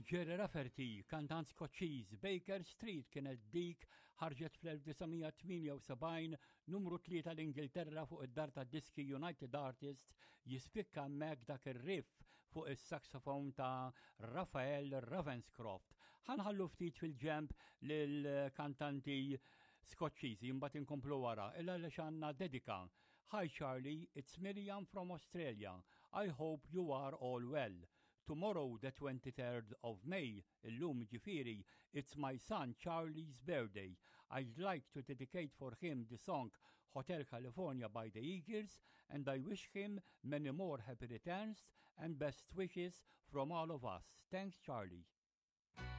Gerry Rafferty, kantant Skoċċiż, Baker Street kienet dik ħarġet fl-1978 numru 3 l-Ingilterra fuq id-dar ta' diski United Artists jispikka hemmhekk dak ir-riff fuq is-saxophone ta' Raphael Ravenscroft. Ħanħallu ftit fil-ġemp lill-kantanti Skoċċiżi mbagħad inkomplu wara illa għaliex għandna dedika. Hi Charlie, it's Miriam from Australia. I hope you are all well. Tomorrow the 23rd of May, illum ġifieri, it's my son Charlie's birthday. I'd like to dedicate for him the song Hotel California by the Eagles and I wish him many more happy returns and best wishes from all of us. Thanks Charlie.